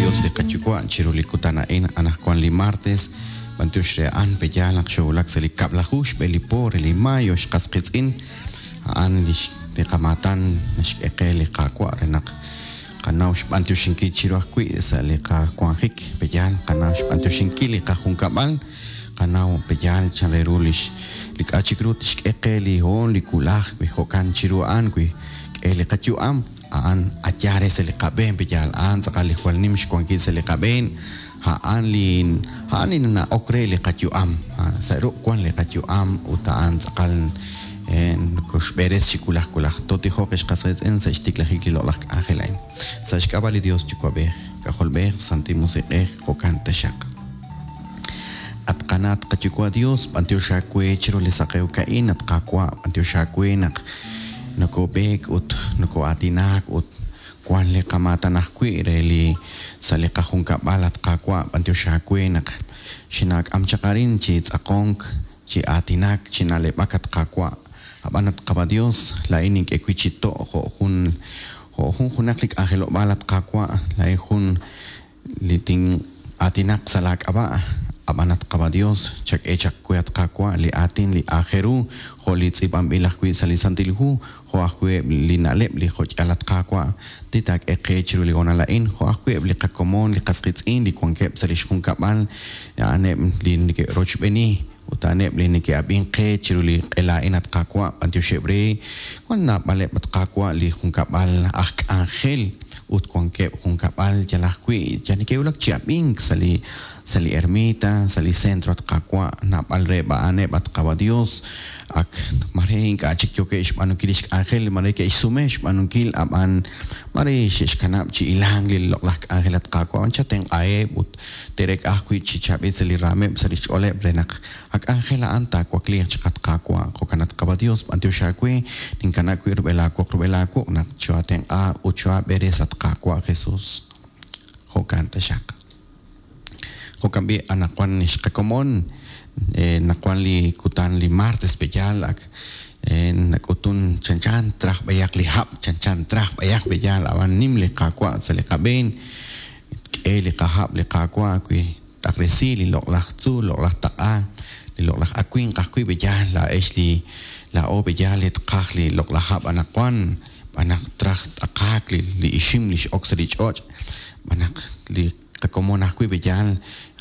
Dios li qaYuwa' chiru li kutan a'in anaqwan li martes, b'antiox re a'an pe'yaal naq xoowulak sa' li kab'laju xb'e li po re li mayo xqas qiitz'in, a'an lix li qamaatan naxk'e qe li Qaawa' re naq qanaw xb'antioxinkil chiru ajwi' sa' li qawanjik, pe'yaal qanaw xb'antioxinkil li qajunkab'al, qanaw pe'yaal chan re ru lix li k'a' chik ru tixk'e qe li hoon li wulaj wi jo'kan chiru a'an wi k'e li qayu'am, a'an a yaal re sa' li qab'een pe'yaal a'an tz'aqal li jwal nim xwankil sa' li qab'een, a'an li a'an li nana'ok re li qayu'am, sa' ruq' wan li qayu'am ut a'an tz'aqal nokoxb'eres chi wulaj wulaj. Tootijoq ex qas qiitz'in sa' xtiklajik li loq'laj k'anjel a'in. Sa' xk'ab'a' li Dios Yuwa'b'ej, K'ajolb'ej, Santil Musiq'ej, jo'kan taxaq. At qana' at qaYuwa' Dios, b'antiox aawe chiru li saqewk a'in, at Qaawa', b'antiox aawe naq nokob'eek ut noko'aatinaak ut wan li qamaatan ajwi' re li sa' li qajunkab'al, at Qaawa', b'antiox aawe naq xinaak'am chaq arin chi tz'aqonk, chi aatinak, chi na'leb'ak, at Qaawa'. Ab'an, at Qaba' Dios, laa'in nink'e wi' chi to' jo' jun jo' jun junaq li k'anjelob'aal, at Qaawa', laa'in jun li tin'aatinaq sa' laa k'ab'a', a'b'an at Qaba' Dios, chak'e chaq we, at Qaawa', li aatin li aajel ru, jo' li tz'iib'anb'il ajwi' sa' li Santil Hu, jo' ajwi' eb' li na'leb' li jo'ch'al, at Qaawa', li taak'e qe chiru li hoonal a'in, jo' ajwi' eb' li qakomon, li qas qiitz'in li wankeb' sa' lix junkab'al, a'aneb' li neke'rochb'eeni ut a'aneb' li neke'ab'ink qe chiru li q'ela a'in, at Qaawa', b'antioxeb' re, wan naab'aleb', at Qaawa', li junkab'al aj k'anjel ut wankeb' junkab'al yal ajwi' yal neke'wulak chi ab'ink sa' li sa' li ermita, sa' li centro, at Qaawa', naab'al reheb' a'aneb', at Qaawa' Dios, ak mare ink'a' chik yookeb' xb'aanunkil lix k'anjel, mare ke'xsume xb'aanunkil, a'b'an mare xe'xkanab' chi hilank li loq'laj k'anjel, at Qaawa', a'b'an chatenq'aheb' ut te'reek'a ajwi' chi chaab'il sa' li raameb', sa' lix ch'ooleb' re naq a k'anjel a'an taawakliiq chaq, at Qaawa'. Jo'kan, at Qaawa' Dios, b'antiox aawe, ninkanab' wib' rub'el aawoq rub'el aawuq' naq choo'aatenq'a ut choo'aab'eres, at Qaawa' Jesus. Jo'kan taxaq. Jo'kan b'i' anaqwan xqakomon, naq wan li kutan li martes pe'yaal ak nak'utun chanchan traj b'ayaq li hab', chanchan traj b'ayaq pe'yaal, ab'an nim li Qaawa' sa' li qab'een, tk'e li qahab' li Qaawa' wi t'aqresi li loq'laj tzuul, loq'laj taq'a, li loq'laj awimq ajwi' pe'yaal laa'ex li laa'o pe'yaal li tqaj li loq'laj hab' anaqwan, b'an naq traj t'aqaak li ixim li x'ok sa' li ch'och', b'an naq li qakomon ajwi' pe'yaal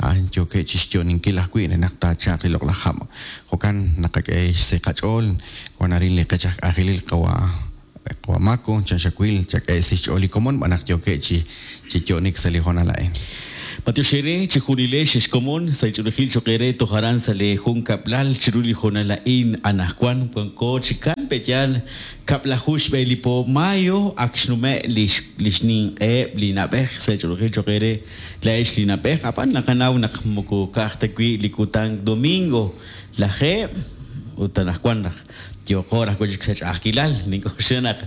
a'an yookeb' chi xyo'ninkil ajwi' re naq taachalq li loq'laj hab'. Jo'kan naqak'e xse qach'ool, wan arin li qech aj k'anjelil qawa' Qawa' Mako, chan xawil, chak'e si xch'ool li komon b'an naq yookeb' chi chi yo'nik sa' li hoonal a'in. B'antiox eere chejunilex ex komon sa' li ch'oolejil choq' eere toj aran sa' lee junkab'lal chiru li hoonal a'in anajwan wanko chi kan pe'yaal kab'laju xb'e li po mayo ak xnume' lix lix ninq'eheb' li na'b'ej sa' li ch'oolejil choq' eere laa'ex li na'b'ej ab'an naqanaw naq moko ka'aj ta wi' li kutan domingo lajeeb' ut anajwan naq Yooqo raj wi' chik sa' ch'a'ajkilal, nink'oxla naq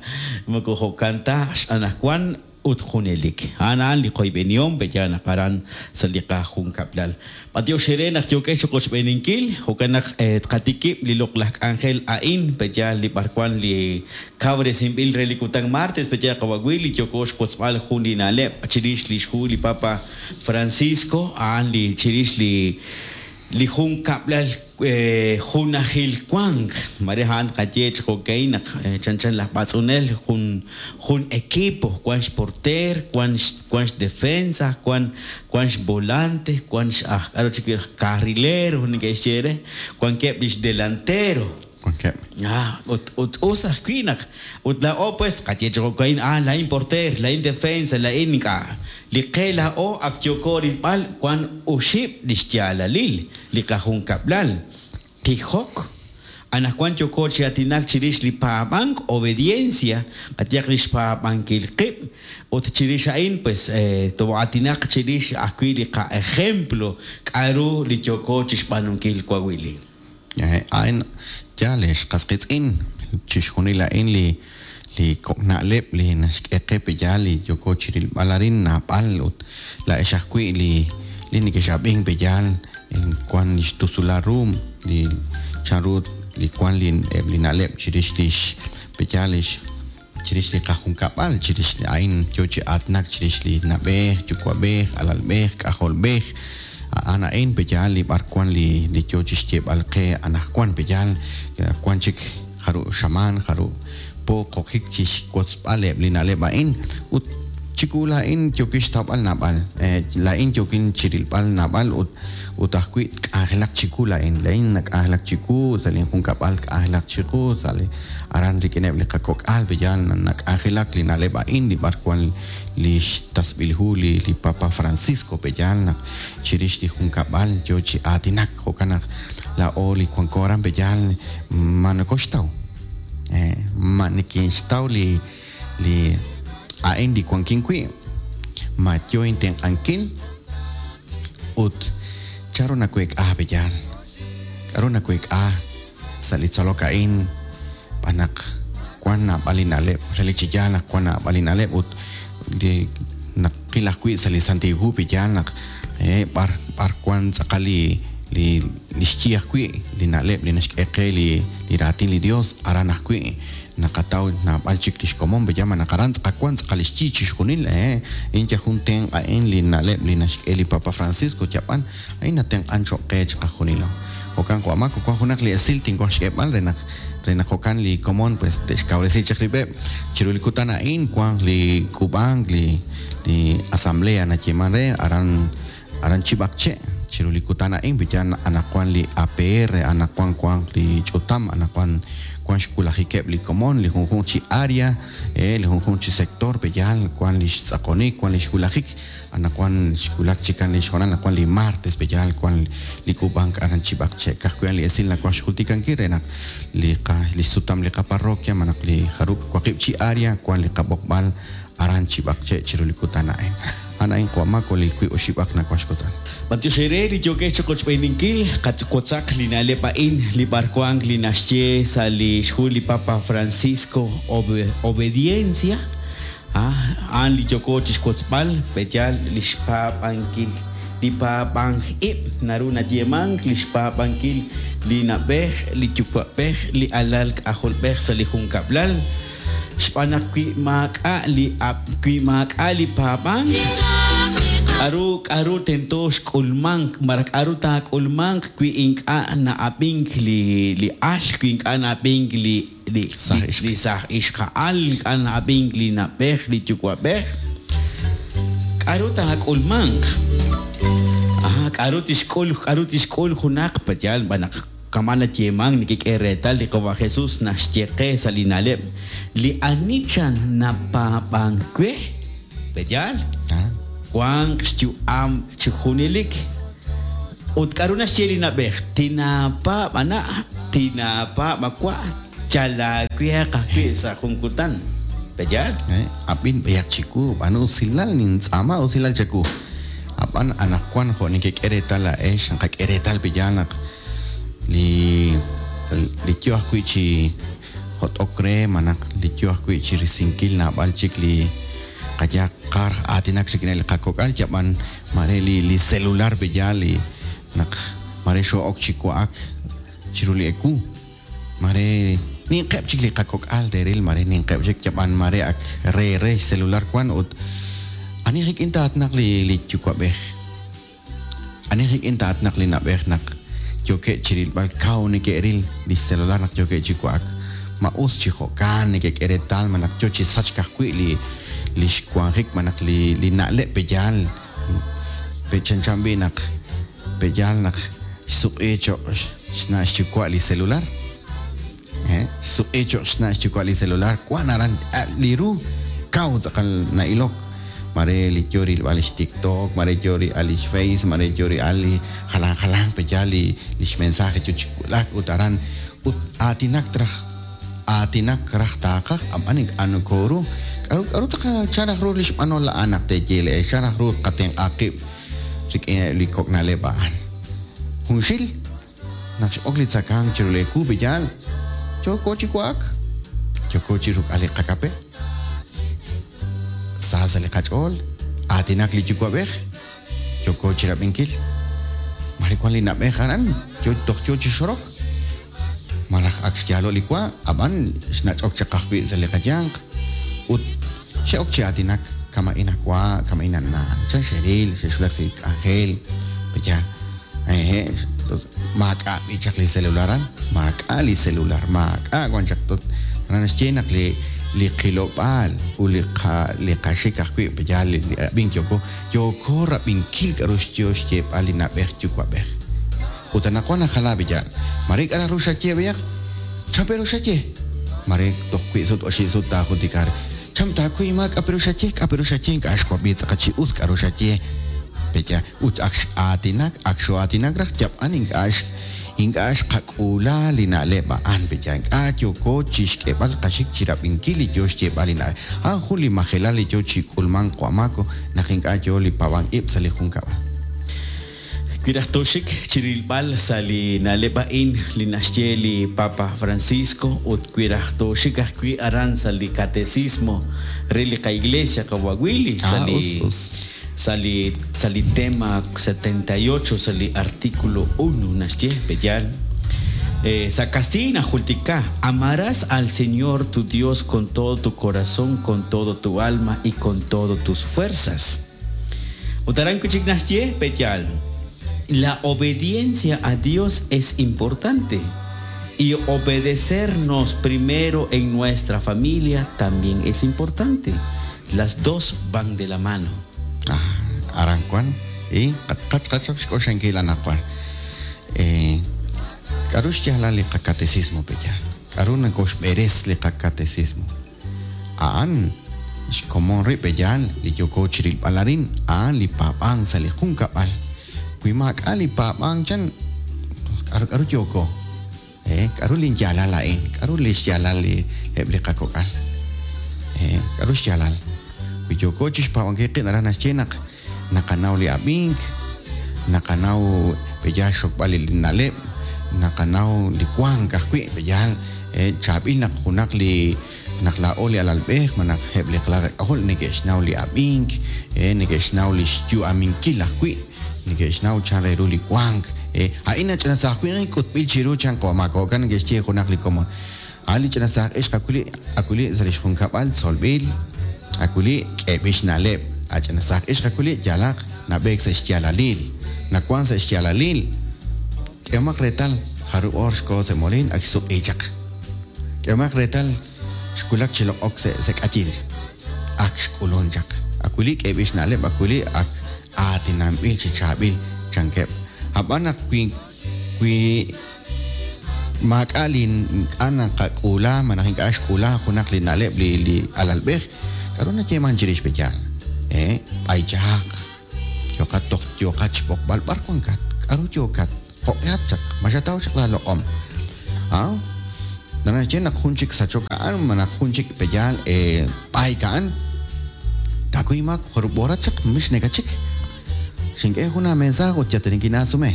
moko jo'kan ta x'anajwan ut junelik. A'an a'an li qoyb'enihom pe'yaal naq aran sa' li qajunkab'lal. B'antiox eere naq yookex chiqochb'eeninkil, jo'kan naq tqatikib' li loq'laj k'anjel a'in pe'yaal li b'arwan li kawresinb'il re li kutan martes pe'yaal qawa' wi' li yooko xwotzb'al jun li na'leb' chirix lix hu li Papa Francisco a'an li chirix li Li junkab'lal junajil wank, mare a'an tqaye chi jo'ka'in naq chanchan laj b'atz'unel jun jun equipo, wan xporteer, wan wan xdefensa, wan wan xvolante, wan x'aj k'aru chik aj carrilero neke'xye re, wankeb' li xdelantero. Wankeb'. Ah, ut ut us ajwi' naq ut laa'o pues tqaye chi jo'ka'in, ah laa'in porteer, laa'in defensa, laa'in ink'a'. Li qe laa'o ak yooko rilb'al wan oxib' li xyaalalil li qajunkab'lal, tijok, anaqwan yooko chi aatinak chirix li paab'ank, obediencia, qayehaq li xpaab'ankil qib', ut chirix a'in pues too'aatinaq chirix ajwi' li qa'ejemplo k'a'ru li yooko chixb'aanunkil wawili. A'in yaal, ex qas qiitz'in, chixjunil a'in li li kok' na'leb' li naxk'e qe pe'yaal li yooko chirilb'al arin naab'al ut laa'ex ajwi' li li nekex'ab'ink pe'yaal wan li xtusulal ru li chanru li wan li eb' li na'leb' chirix lix pe'yaal lix. Chirix li qajunkab'al, chirix a'in yo chi aatinak chirix li na'b'ej, yuwa'b'ej, alalb'ej, k'ajolb'ej. A'an a'in pe'yaal li b'arwan li li yo chi xyeeb'al qe anaqwan pe'yaal wan chik jarub' xamaan, jarub' po qokik chi xwotzb'al eb' li na'leb' a'in. Ut chiwu laa'in yookin xtawb'al naab'al, laa'in yookin chi rilb'al naab'al ut ut ajwi' tk'anjelaq chiwu laa'in. Laa'in nak'anjelak chiwu, sa' linjunkab'al tk'anjelaq chiqu, sa' li aran rik'ineb' li qakok'al pe'yaal nak'anjelak li na'leb' a'in li b'arwan li xtasb'il hu li li Papa Francisco pe'yaal naq chirix li junkab'al yo chi aatinak. Jo'kan naq laa'o li wanko aran pe'yaal ma nokoxtaw, ma nikinxtaw li li a'in li wankin wi', ma yo intenq'ankil ut chanru naweek'a pe'yaal, k'a'ru naweek'a sa' li tzolok a'in b'an naq wan naab'al li na'leb', relik chi yaal naq wan naab'al li na'leb' ut li naqil ajwi' sa' li Santil Hu pe'yaal naq b'ar b'ar wan tz'aqal li li li xyi ajwi' li na'leb' li naxk'e qe li li raatin li Dios aran ajwi' naqataw naab'al chik li xkomon pe'yaal ma naq aran tz'aqal wan tz'aqal li xyi chixjunil a'in yal jun tenq' a'in li na'leb' li naxk'e li Papa Francisco yab'an a'in natenq'an cho'q qe chiqajunilo. Jo'kan jo' Mako wan junaq li esil tinwaj xk'eeb'al re naq re naq jo'kan li komon pues te'xkawresi chaq rib'eb' chiru li kutan a'in wanq li k'uub'ank li li asamblea nayeeman re aran aran Chib'aqche' chiru li kutan a'in wi yaal anaqwan li APR anaqwan wanq li ch'utam anaqwan wan xwulajikeb' li komon li junjunq chi área li junjunq chi sector pe'yaal wan li xtz'aqonik wan li xwulajik Anaqwan xwulak chikan li xhoonal anaqwan li martes pe'yaal wan li k'uub'ank aran Chib'aqche'. Ka'ajwi' a'an li esil nawaj xjultikankil re naq li qa li xsutam li qaparroquia malaj li jarub' waqib' chi área wan li qab'oqb'al aran Chib'aqche' chiru li kutan a'in. A'an a'in qawa' Mako li wiib' oxib'aq nawaj xwotzb'al. B'antiox eere li yookex chiqochb'eeninkil, qatwotzaq li na'leb' a'in li b'arwank li naxye sa' li xhu li Papa Francisco Obediencia. A'an li yooko chixwotzb'al, pe'yaal li xpaab'ankil li paab'anj ib' naru nayeemank li xpaab'ankil li na'b'ej, li yuwa'b'ej, li alal k'ajolb'ej sa' li junkab'lal, xb'aan naq wi maak'a' li wi maak'a' li paab'ank, k'aru k'aru tento xk'ulmank malaj k'aru taak'ulmanq wi ink'a' na'ab'ink li li al, wi ink'a' na'ab'ink li li saaj ixqa'al, ink'a' na'ab'ink li na'b'ej, li yuwa'b'ej. K'aru taak'ulmanq? Aha, k'aru tixk'ul, k'aru tixk'ul junaq? Pe'yaal xb'aan naq kama' nayeemank nekek'e reetal li Qawa' Jesus naxye qe sa' li na'leb', Li ani chan napaab'ank we, pe'yaal? Wanq xyu'am chi junelik. Ut k'aru naxye li na'b'ej? Tinaapaab' a na', tinaapaab' a wa', yal aaweeq ajwi' sa' jun kutan. Pe'yaal? Ab'in b'ayaq chiwu, b'aanu usilal, nintz'aama usilal chawu. Ab'an anaqwan jo' nekek'e reetal laa'ex, naqak'e reetal pe'yaal naq li li yo ajwi' chi jot'ok re malaj li yo ajwi' chi risinkil naab'al chik li qayehaq qaj aatinak rik'ineb' li qakok'al yab'an Mare li li celular pe'yaal li naq mare xoo'ok chi wa'ak chiru li ewu, mare ninqeb' chik li qakok'al te'ril, mare ninqeb' chik yab'an mare ak re re xcelular wan ut ani rik'in taatnaq li li yuwa'b'ej, ani rik'in taatnaq li na'b'ej naq yookeb' chi rilb'al kaw neke'ril li xcelular naq yookeb' chi wa'ak, ma us chi jo'kan nekek'e reetal ma naq yo chi sachk ajwi' li li xwanjik malaj li li na'leb' pe'yaal pe' chanchan b'i' naq pe'yaal naq xsuq'i cho'q xna' xyuwa' li celular xsuq'i cho'q xna' xyuwa' li celular wan aran li ru kaw tz'aqal na'ilok mare li yo rilb'al li xTikTok mare yo rilb'al li xFace mare yo rilb'al li jalan jalanq pe'yaal li li xmensaje yo chi wulak ut aran ut aatinak traj Aatinak raj taaqaj, ab'an ink'a' nokooru. K'aru k'aru tqacha raj ru li xb'anol a'an naq teeye le'ex? Chan raj ru tqatenq'a qib' rik'ineb' li kok' na'leb' a'an? Junxil, naq x'ok li tzakank chiru li ewu, pe'yaal? Yooko chi wa'ak, yooko chi ruk'al li qakape. Sa sa' li qach'ool, aatinak li yuwa'b'ej, yooko chi rab'inkil. Mare wan li na'b'ej aran, yo toj yo chi xorok. Malaj ak xyaalo' li wa, ab'an xnach'ok chaq ajwi' sa' li qayanq. Ut xe'ok chi aatinak kama'in awa', kama'in ana', chan xe'ril, xe'xwulak sa' li k'anjel, pe'yaal? Hehe', maak'a' b'i chaq li celular aran, maak'a' li celular, maak'a' wan chaq. Aran naxye naq li li qilob'aal ut li qa li qaxik ajwi' pe'yaal li ab'ink yooko, yooko rab'inkil k'a'ru yo xyeeb'al li na'b'ej yuwa'b'ej. Ut anaqwan najala pe'yaal, mare k'a' raj ru xaye b'ayaq, chan pe' ru xaye? Mare toj wi' sut oxib' sut taajultika re, chan taakuy inmaak k'a' pe' ru xaye, k'a' pe' ru xaye ink'a' xwab'i tz'aqal chi us k'a'ru xaye, pe'yaal? Ut ak x'aatinak, ak xoo'aatinak raj yab'an ink'a' ink'a' xqak'uula li na'leb' a'an, pe'yaal? Ink'a' yooko chixk'eeb'al qaxik chirab'inkil li yoo xyeeb'al li na'leb'. A'an jun li majelal li yoo chi k'ulmank Wamako naq ink'a' yoo li paab'ank-ib' sa' li junkab'al. Wi raj tooxik chirilb'al sa' li na'leb' a'in li naxye li Papa Francisco ut wi raj tooxik ajwi' aran sa' li Catecismo re li qaIglesia qawa' Willy sa' li sa' li sa' li tema 78 sa' li artículo uno naxye, pe'yaal? Sa' kastiiy najultika, Amarás al Señor tu Dios con todo tu corazón, con todo tu alma y con todo tus fuerzas. Ut aran wi' chik naxye, Pe'yaal, La obediencia a Dios es importante y obedecernos primero en nuestra familia también es importante. Las dos van de la mano. Ah, aran wan y qachqachap xk'oxlankil anaqwan. Eh, k'a'ru xyaalal li qakatecismo pe'yaal? K'a'ru nakoxb'eres li qakatecismo? A'an xkomon rib' pe'yaal li yooko chirilb'al arin, a'an li paab'ank sa' li junkab'al. Wi maak'a' li paab'ank chan, k'a'ru k'a'ru yooko? Eh, k'a'ru linyaalal a'in? K'a'ru li xyaalal li eb' li qakok'al? Eh, k'a'ru xyaalal? Wi yooko chixpaab'ankil qib' naraj naxye naq naqanaw li ab'ink, naqanaw pe'yaal xxokb'al li na'leb', naqanaw li wank ajwi' pe'yaal chaab'il naq junaq li naq laa'o li alalb'ej malaj eb' li qalal qak'ajol neke'xnaw li ab'ink, neke'xnaw li xyu'aminkil ajwi', neke'xnaw chan re ru li wank. A'in nach'ina saaj winq k'utb'il chiru chan qawa' maak jo'kan neke'xye junaq li komon. A'an li ch'ina saaj ixq awili' awili' sa' lix junkab'al tzolb'il, awili' k'eeb'il xna'leb'. A ch'ina saaj ixq awili' yaalaq nab'eek sa' xyaalalil, nawan sa' xyaalalil. K'ehomaq reetal, jarub' oor xkoho sa' moliin ak xsuq'i chaq. K'ehomaq reetal, xwulak chi loq'ok sa' sa' k'ayil, ak xk'ulun chaq. Awili' k'eeb'il xna'leb', awili' ak aatinanb'il chi chaab'il, chankeb'. A'b'an naq wi wi maak'a' li ink'a' naqak'uula malaj ink'a' xk'uula junaq li na'leb' li li alalb'ej, k'a'ru nayeeman chirix pe yaal? Ee, b'aychaq, yooqat toj yooqat xb'oqb'al b'ar wankat, k'a'ru yookat, jo'q'ehat chaq, ma xataw chaq laa loq'om? A, naraj naxye naq jun chik sachok a'an malaj jun chik pe yaal b'ayk a'an, taakuy inmaak jarub' horat chaq mix nekachik, xink'e jun aamensaaj ut yal ta nikinaasume.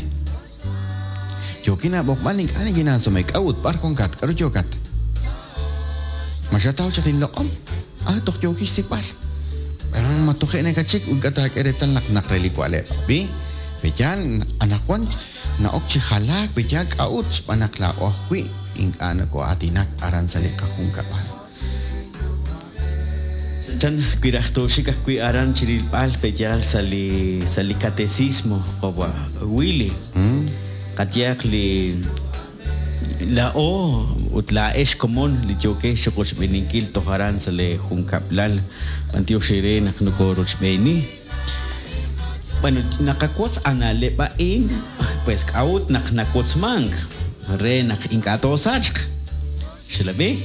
Yookin aab'oqb'al ink'a' nikinaasume. K'a'ut? B'ar wankat? K'aru yookat? Ma xataw chaq linloq'om? Ah, toj yookin xsik'b'al. Ma toje' nakachik ut ink'a' taak'e reetal naq naq re li wa'leb'. Ab'i, pe'yaal anaqwan na'ok chi jalaak, pe'yaal k'a'ut? Xb'aan naq laa'o ajwi' ink'a' nokoo'aatinak aran sa' li qajunkab'al. Chan wi raj tooxik ajwi' aran chi rilb'al pe'yaal sa' li sa' li catecismo qawa' Willy. Qayehaq li laa'o ut laa'ex komon li yookex chi qochb'eeninkil toj aran sa' lee junkab'lal b'antiox eere naq nokorochb'eeni. Bueno, naqawotz a na'leb' a'in, pues k'a'ut naq nawotzmank? Re naq ink'a' toosachq. Xelab'i?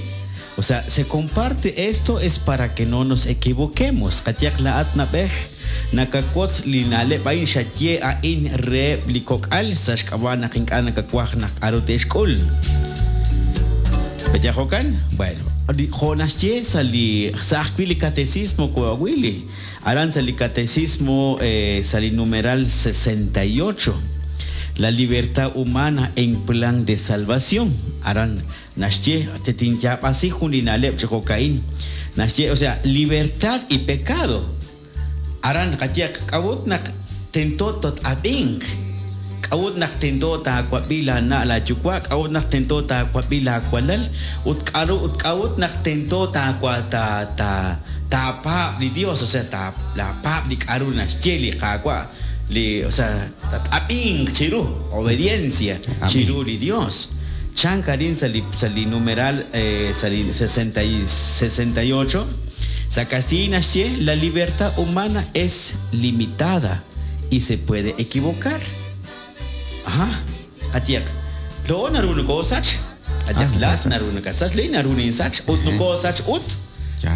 O sea, se comparte esto es para que no nos equivoquemos. Qayehaq laa'at na'b'ej, nakawotz li na'leb' a'in xaye a'in reheb' li kok'al sa' xk'ab'a' naq ink'a' nakawaj naq k'a'ru te'xk'ul. Pe'yaal jo'kan? Bueno, jo' naxye sa' li sa' ajwi' li catecismo Coahuili, aran sa' li catecismo sa' li numeral 68, La libertad humana en plan de salvación, aran Naxye, Tetinyaab'asi jun li na'leb' chi jo'ka'in. Naxye, o sea, libertad y pecado. Aran naqaye, K'a'ut naq tento tot-ab'inq? K'a'ut naq tento taawab'i laana' laayuwa', k'a'ut naq tento taawab'i laawalal, ut k'aru ut k'a'ut naq tento taawa ta ta taapaab' li Dios, o sea ta laapaab' li k'aru naxye li Qaawa', li o sea tat-ab'inq chiru, obediencia chiru li Dios. Chank arin sa' li sa' li numeral sa' li 68, sa' kastiiy naxye la libertad humana es limitada y se puede equivocar. Aha, qayehaq, laa'o naru nokoosach, qayehaq laa'at naru nakatsach, laa'in naru ninsach, ut nokoosach ut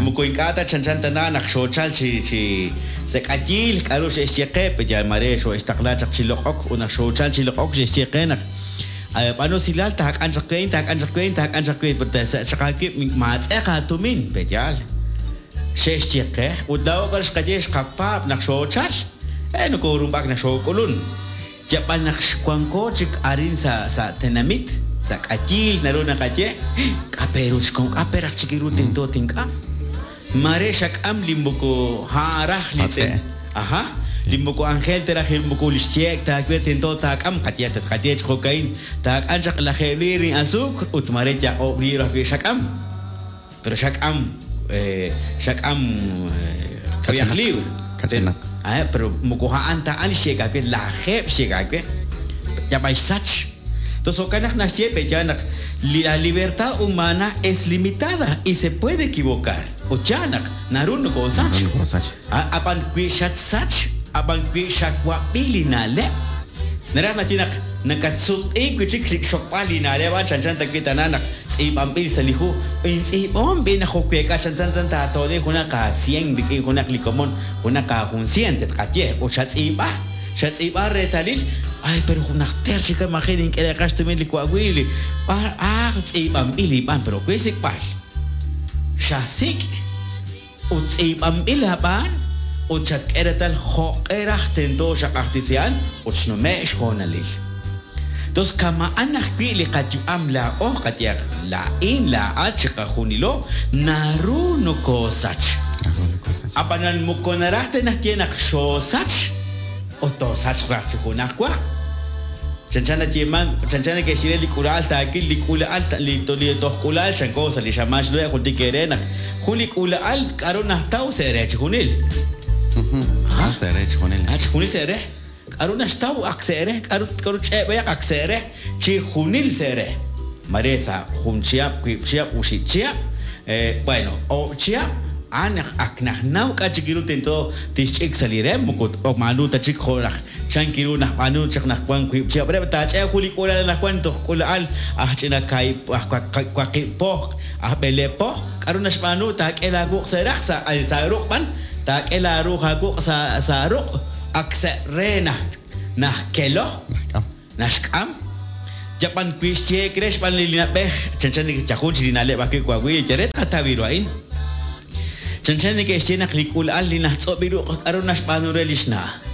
moko ink'a' ta chanchan tana naq xoochal chi chi sa' k'ayiil k'a'ru xe'xye qe, pe yal mare xoo'extaqla chaq chi loq'ok ut naq xoochal chi loq'ok xe'xye qe naq b'aanu usilal taak'an chaq we a'in, taak'an chaq we a'in, taak'an chaq we a'in, pero taasachq aawib' maatz'eq aatumin, pe yaal. Xe'xye qe, ut laa'o k'aru xqaye xqapaab' naq xoochal, e nokorumb'ak naq xook'ulun. Yab'an naq xwanko chik arin sa' sa' tenamit, sa' k'ayiil naru naqaye, k'a' pe ru xkom, k'a' pe raj chik ru tento tink'am. Mare xak'am li moko a'an raj li Patz'e'. Aha, li moko anjel ta raj moko li xyeek ta aawe tento taak'am, qaye tatqaye chi jo'ka'in, taak'am chaq lajeeb' liir li asuukr ut mare yal oob' liir ajwi' xak'am. Pero xak'am, xak'am k'uyaj liwr. Kach'inaq. Ah, pero moko a'an ta a'an li xyeek aawe, lajeeb' xyeek aawe. Yab'an xsach. Entonces jo'kan naq naxye pe yaal naq li la libertad humana es limitada y se puede equivocar. Ut yaal naq naru nokoosach. Naru nokoosach. Ab'an wi xatsach, ab'an wi xawab'i li na'leb', naraj naxye naq nakatsutq'iik wi' chik xokb'al li na'leb' a'an chanchan ta wi' tana naq tz'iib'anb'il sa' li hu. Intz'iib'ahom b'i' naq jo'week'a chanchan tan taato'li junaq aasien rik'in junaq li komon, junaq aajunsien tatqaye, ut xatz'iib'a, xatz'iib'a reetalil, ay pero najter chik maji' nink'e reeqaj xtumin li wa'wi' li b'ar ah tz'iib'anb'il li b'an, pero we xsik'b'al. Xasik' ut tz'iib'anb'il aab'aan ut xatk'e reetal jo'q'e raj tento xaq'ajtisi a'an ut xnume' xhoonalil. Tos kama'an ajwi' li qayu'am laa'o, qayehaq laa'in, laa'at, chiqajunilo, naru nokoosach. Naru nokoosach. Ab'anan moko naraj ta naxye naq xoosach ut toosachq raj chi junajwa. Chanchan nayeemank, chanchan neke'xye re li k'uula'al taawil li k'uula'al li li toj k'uula'al chanko sa' li xamaan xnume' jultik eere naq jun li k'uula'al k'aru najtaw sa' re chijunil. Ah, sa' re chijunil. Ah, chijunil sa' re. K'aru naxtaw ak sa' re, k'aru k'aru ch'e'b'ayaq ak sa' re, chijunil sa' re. Mare sa' jun chihab', wiib' chihab', oxib' chihab', bueno, oob' chihab', a'an naq ak najnaw k'a' chik ru tento tixch'ik sa' li re, moko maanu ta chik jo' raj Chan kiru nab'aanu chaq naq wank wiib' chihab' re taach'e jun li k'uula'al anaqwan toj k'uula'al aj ch'ina kaahib' aj waqib' po, aj b'eleeb' po, k'aru naxb'aanu taak'e laawuq' sa' raq sa' sa' ruq' b'an taak'e laaruuj aawuq' sa' sa' ruq' ak sa' re naj najkelo naxk'am yab'an wi xyeek re xb'aan li na'b'ej chanchan li yajun chi li na'leb' ajwi' wawil yal re tqataw ru a'in. Chanchan neke'xye naq li k'uula'al li najtz'ub' li ruq' k'aru naxb'aanu re li xna'.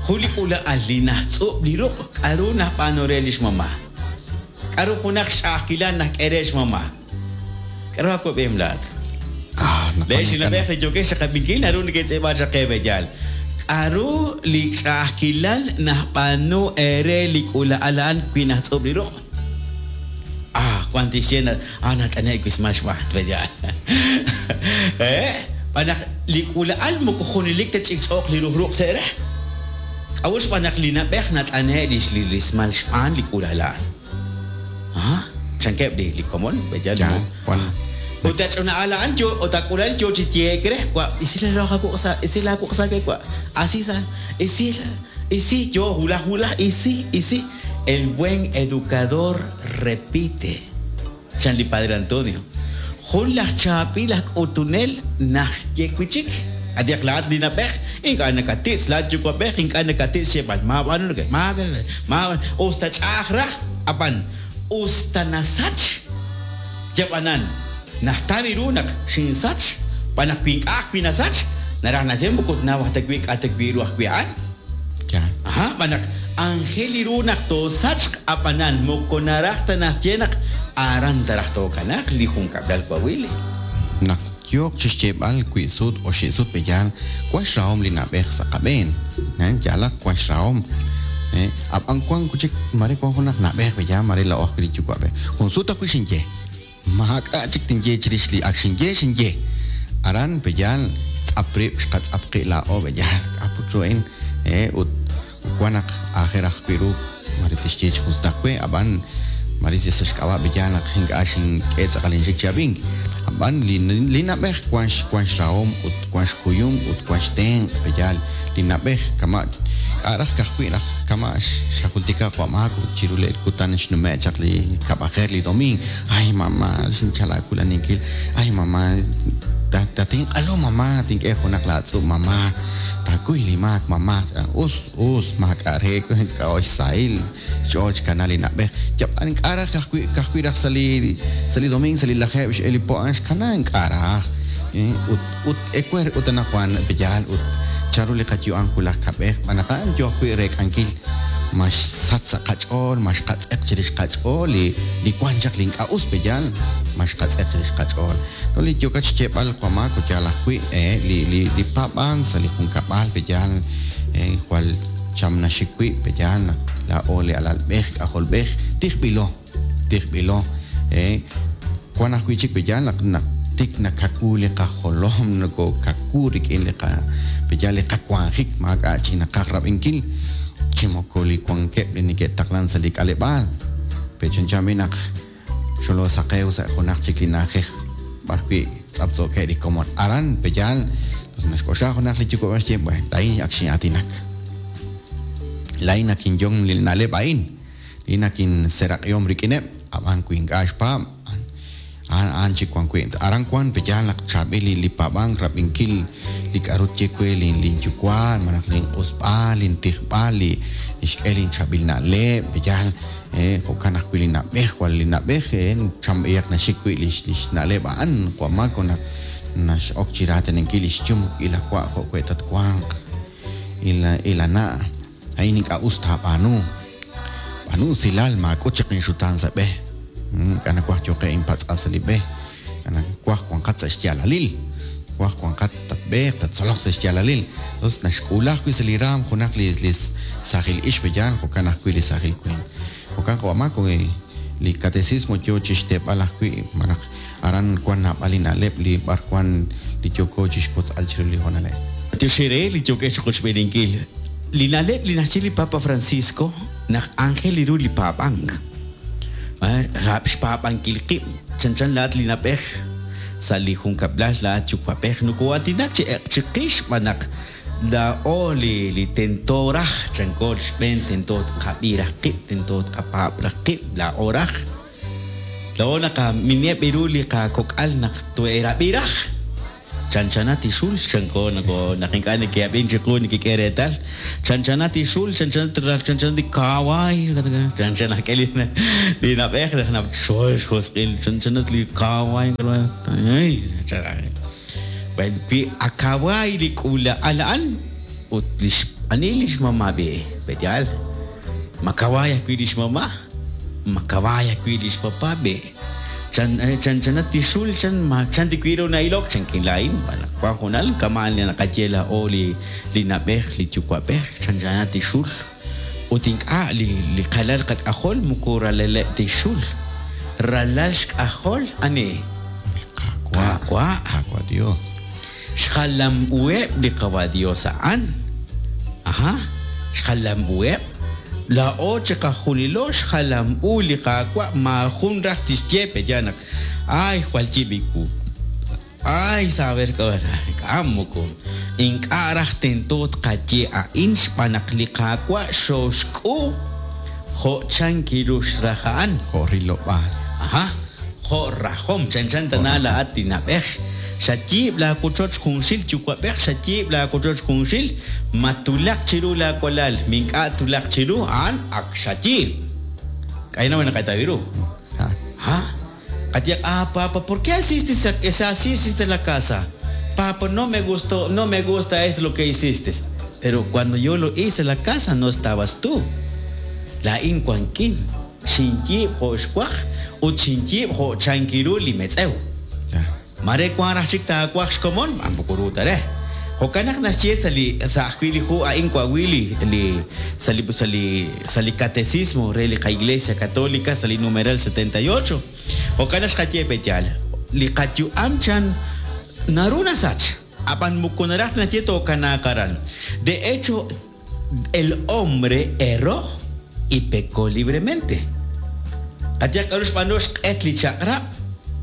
Jun li k'uula'al li najtz'ub' li ruq' k'aru naxb'aanu re li xmama'. K'aru junaq xch'a'ajkilal naxk'e re xmama'. K'aru aawab'ihom laa'at? Ah, naq Leex li na'b'ej li yookex xaqab'inkil naru neke'tz'iib'a chaq qe b'eyal. K'aru li ch'a'ajkilal naxb'aanu eere li k'uula'al a'an wi najtz'ub' li ruq'? Ah, wank tixye naq ah nat'ane'k wismal xb'aan, pe'yaal? He', xb'aan naq li k'uula'al moko junelik ta ch'ikch'ooq li ruj ruq' sa' re. K'a'ut xb'aan naq li na'b'ej nat'ane'k li li rismal xb'aan li k'uula'al a'an? Ah, chankeb' li li komon, pe'yaal? Ya, wan. Ut a ch'ina'al a'an yo ut a k'uula'al yo chi yehe'k re, wa' isi la ruj aawuq' sa' isi laawuq' sa' we wa', asi sa' isi isi yo wulaj wulaj isi isi. El buen educador repite, chan li Padre Antonio. Jun laj chaab'il aj k'utunel naxye wi' chik. Qayehaq laa'at li na'b'ej, ink'a' nakatitz', laa'at yuwa'b'ej ink'a' nakatitz' xyeeb'al, maab'aanu nake, maab'aanu, us ta ch'a'aj raj, ab'an us ta nasach, yab'anan, najtaw ru naq xinsach, xb'aan naq wi ink'a' ajwi' nasach, naraj naxye moko tnaw aj ta wi' k'a' ta wi' ru ajwi' a'an. Aha, xb'aan naq anjel li ru naq toosachq, ab'anan moko naraj ta naxye naq aran ta raj tookanaaq li junkab'lal wawili. Naq yooq chi xyeeb'al wi sut oxib' sut b'eyal, wan xrahom li na'b'ej sa' qab'een. Yaalaq wan xrahom. Ab'an wank wi' chik mare wank junaq na'b'ej pe'yaal mare laa'o ajwi' li yuwa'b'ej. Jun sut ajwi' xinye, maak'a' chik tinye chirix li ak xinye, xinye. Aran pe'yaal xtz'ap rib' xqatz'ap qib' laa'o pe'yaal k'a' put ru a'in ut wan naq aajel ajwi' ru mare tixye chi jun sutaq we ab'an mare yal sa' xk'ab'a' pe'yaal naq ink'a' xink'e tz'aqal inxik chi ab'ink. Ab'an li li na'b'ej wan wan xrahom ut wan xkuyum ut wan xtenq' pe'yaal li na'b'ej kama' k'a' raj ka'ajwi' raj kama' xajultika qawa' Maak ut chiru le kutan xnume' chaq li kab'ajer li domiing ay mama xinchalk aawulaninkil ay mama tatinq'alu mama tink'e junaq laatz'ub' mama taakuy li maak mama us us maak'a' re k'a'jo' xsahil xch'ool xkana li na'b'ej yab'an ink'a' raj ka'ajwi' ka'ajwi' raj sa' li sa' li domiing sa' li lajeeb' x'el li po a'an xkana ink'a' raj ut ut ewer ut anaqwan pe'yaal ut chanru li qayu'am wulaj kab'ej xb'aan naq a'an yoo ajwi' reek'ankil ma xsach sa' qach'ool ma xqatz'eq chirix qach'ool li li wan chaq li ink'a' us pe'yaal ma xqatz'eq chirix qach'ool no li yookat xyeeb'al Juan Marco yaal ajwi' li li li paab'ank sa' li junkab'al pe'yaal jwal cham naxik wi' pe'yaal naq laa'o li alalb'ej k'ajolb'ej tijb'ilo tijb'ilo wan ajwi' chik pe'yaal naq naq tik nakawu li qajolom nokokawu rik'in li qa pe'yaal li qawanjik maak'a' chik naqaj rab'inkil chi moko li wankeb' li neke'taqlan sa' li k'aleb'aal pe' chanchan b'i' naq xoloosaqew sa' junaq chik li na'ajej b'ar wi' tz'aptz'ookeb' li komon. Aran, pe'yaal, toj naxk'oxla junaq li yuwa'b'ej xye, Bueno, laa'in ak xin'aatinak. Laa'in ak inyom li na'leb' a'in. Laa'in ak inseraq'ihom rik'ineb', ab'an wi ink'a' xpaab', a'an a'an chik wan wi'. Aran wan, pe'yaal naq chaab'il li li paab'ank, rab'inkil li k'a'ru tye we lin lin yuwa' malaj lin q'usb'al, lin tijb'al, li xk'e lin chaab'il na'leb', pe'yaal. Jo'kan ajwi' li na'b'ej, jwal li na'b'ej chamb'eyaq naxik wi' li xna'leb' a'an, qawa' Mako naq nax'ok chi raatinankil li xyum ila wa' jo' we' tatwanq, ila na', a'in ink'a' us taab'aanu, b'aanu usilal maak'ut chaq inxutaan sa' b'e, ink'a' nawaj yooqeb' inpatz'al sa' li b'e, nawaj wanqat sa' xyaalalil, nawaj wanqat tatb'eeq, tattzoloq sa' xyaalalil. Us naxk'uula ajwi' sa' li raam junaq li li saajil ixq yaal, jo'kan ajwi' li saajil winq. Jo'kan qawa' Marco, li katecismo yoo chixteeb'al ajwi' malaj aran wan naab'al li na'leb' li b'ar wan li yooko chixwotz'al chiru li hoonal a'in. B'antiox eere li yookex chiqochb'eeninkil. Li na'leb' li naxye li Papa Francisco naq aajel ru li paab'ank. Xpaab'ankil qib' chanchan laa'at li na'b'ej sa' li junkab'lal laa'at yuwa'b'ej nokoo'aatinak chi chiqix xb'aan naq laa'o li li tento raj chanko xb'een tento tqab'i raj qib' tento tqapaab' raj qib' laa'o raj laa'o naqamineb' ru li qakok'al naq tohe'rab'i raj. Chanchanat li xul, chanko nako naq ink'a' neke'ab'in chiqu nekek'e reetal. Chanchanat li xul, chanchanat chanchanat li kawaay, chanchan naq k'e li li na'b'ej naq naq xjosq'il, chanchanat li kawaay, Bueno, wi a kawaay li k'uula'al a'an ut lix ani lix mama' b'i', pe'yaal? Ma kawaay ajwi' lix mama'? Ma kawaay ajwi' lix papa b'i'? Chan, chanchanat li xul, chan, ma chan tiwi' ru na'ilok, chankin laa'in, xb'aan naq wan junal kama'an li naqaye laa'o li, li na'b'ej, li yuwa'b'ej, chanchanat li xul. Ut ink'a' li, li qalal qak'ajol moko ralaleb' ta xul, ralal xk'ajol ani? Li Qaawa'. Qaawa'. Qaawa' Dios. Xjalam-uheb' li Qawa' Dios a'an. Aha, xjalam-uheb'. Laa'o chiqajunilo xjalam-u li Qaawa' maajun raj tixye pe'yaal naq, Ay, jwal yib' iwu. Ay, saber k'a'ut. Ink'a' moko. Ink'a' raj tento tqaye a'in xb'aan naq li Qaawa' xooxk'u jo' chan kiru xraj a'an. Jo' rilob'aal. Aha. Jo' rajom, chanchan tana laa'at li na'b'ej. Xayiib' laawochoch junxil, yuwa'b'ej, xayiib' laawochoch junxil, ma twulaq chiru laawalal, mi ink'a' twulaq chiru, a'an ak xayiib'. K'a'inaq wi naqataw ru. Ha? Qayeeq, ah, papa, ¿por qué hiciste esa, así hiciste la casa? Papa, no me gustó, no me gusta es lo que hiciste. Pero cuando yo lo hice la casa no estabas tú. Laa'in wankin. Xinyiib' jo' xwaj ut xinyiib' jo' chankiru li metz'ew. Mare wank raj chik taawaj xkomon, moko ru ta re. Jo'kan naq naxye sa' li sa' ajwi' li hu a'in wa'wi li li sa' li sa' li sa' li Catecismo re li qa-Iglesia Catolica sa' li numeral 78. Jo'kan naq xqaye pe' yaal, li qayu'am chan naru nasach, ab'an moko naraj ta naxye tookanaaq aran. De hecho, el hombre erró y pecó libremente. Qayehaq k'a'ru xb'aanu xq'et li chaq'rab'.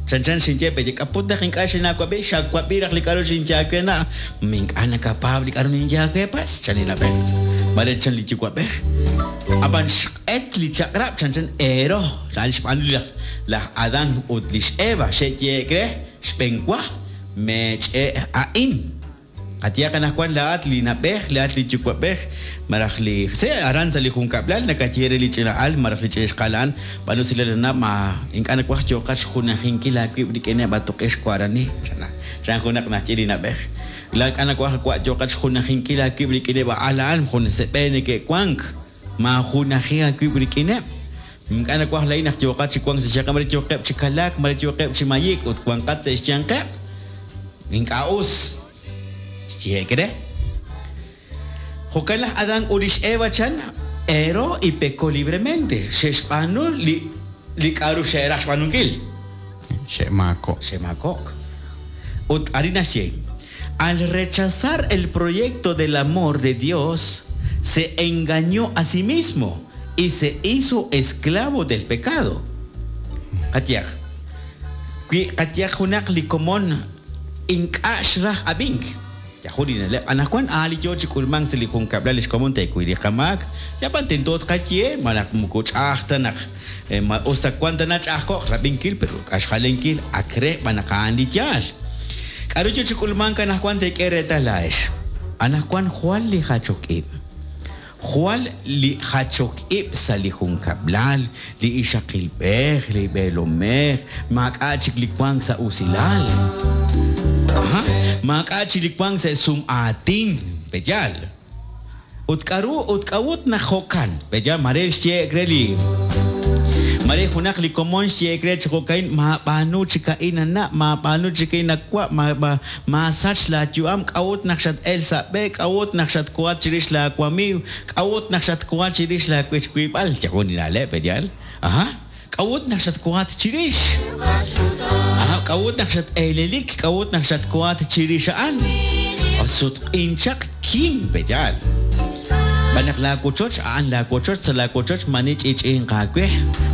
Chanchan xinye pe' k'a put naq ink'a' xinaawab'i, xawab'i raj li k'a'ru xinye aawe na', ma ink'a' nakapaab' li k'a'ru ninye aawe pas, chan li na'b'ej. Mare chan li yuwa'b'ej. Ab'an xq'et li chaq'rab' chanchan erró, a'an xb'aanu laj laj Adán ut li xEva xe'yehe'k re xb'enwa meech'e' a'in. Qayehaq anaqwan laa'at li na'b'ej, laa'at li yuwa'b'ej, malaj li se aran sa' li junkab'lal nakaye re li ch'ina al malaj li ch'ina ixqa'al a'an, b'aanu usilal anab' ma ink'a' nawaj yooqat xjunajinkil aawib' rik'ineb' a tuq'ixq warani, chan chan junaq naxye li na'b'ej. La ink'a' nawaj wa' yooqat xjunajinkil aawib' rik'ineb' a al a'an, junes b'e neke'wank, maajunaji aawib' rik'ineb'. Ink'a' nawaj laa'in naq yooqat chi wank sa' xyanqeb', mare yooqeb' chi kalaak, mare yooqeb' chi mayik ut wanqat sa' xyanqeb'. Ink'a' us. Xyehe'k re. Jo'kan laj Adán ut li x'Eva chan, erró y pecó libremente. Xe'xb'aanu li li k'a'ru xe'raj xb'aanunkil. Xe'maako'. Xe'maako'k. Ut arin naxye, Al rechazar el proyecto del amor de Dios, se engañó a sí mismo y se hizo esclavo del pecado. Qayehaq, wi qayehaq junaq li komon ink'a' xraj ab'ink, yajun li na'leb' anaqwan a'an li yoo chi k'ulmank sa' li junkab'lal lix komon teekuy li qamaak, yab'an tento tqaye malaj moko ch'a'aj ta naq ma us ta wan tana ch'a'ajko'q rab'inkil pero k'a xjalenkil ak re b'an naq a'an li yaal. K'a'ru yoo chi k'ulmank anaqwan teek'e reetal laa'ex. Anaqwan jwal li jachok ib'. Jwal li jachok ib' sa' li junkab'lal, li ixaqilb'ej, li b'eelomej, maak'a' chik li wank sa' usilal. Aha, maak'a' chik li wank sa' sum aatin, pe'yaal? Ut k'a'ru ut k'a'ut naq jo'kan? Pe'yaal mare xyehe'k re li mare junaq li komon xyehe'k re chi jo'ka'in, maab'aanu chik a'in a na', maab'aanu chik a'in a wa', ma, ma, maasach laayu'am, k'a'ut naq xat-el sa' b'e, k'a'ut naq xatkohat chirix laawamiiw, k'a'ut naq xatkohat chirix laawechwiib'al, yajun li na'leb', pe'yaal? Aha, k'a'ut naq xatkohat chirix? Aha, k'a'ut naq xat-eelelik, k'a'ut naq xatkohat chirix a'an? Sutq'in chaq kim, pe'yaal? Xb'aan naq laawochoch a'an laawochoch, sa' laawochoch maani ch'i'ch'i'inq aawe,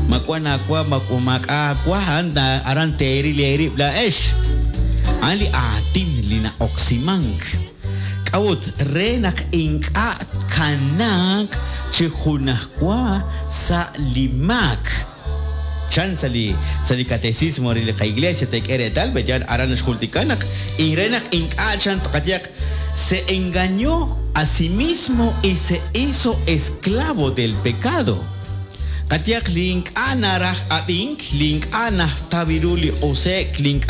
ma wan aawa ma maak'a' aawa, a'an aran teeril eerib' laa'ex. A'an li aatin li na'oksimank. K'a'ut? Re naq ink'a' tkanaaq chi junajwa sa' li maak. Chan sa' li sa' li Catecismo re li qa-Iglesia teek'e reetal, pe'yaal aran naxjultika naq re naq ink'a' chan tqayehaq se engañó a sí mismo y se hizo esclavo del pecado. Qayehaq li ink'a' naraj ab'ink, li ink'a' najtaw ru li q'use'k, li ink'a'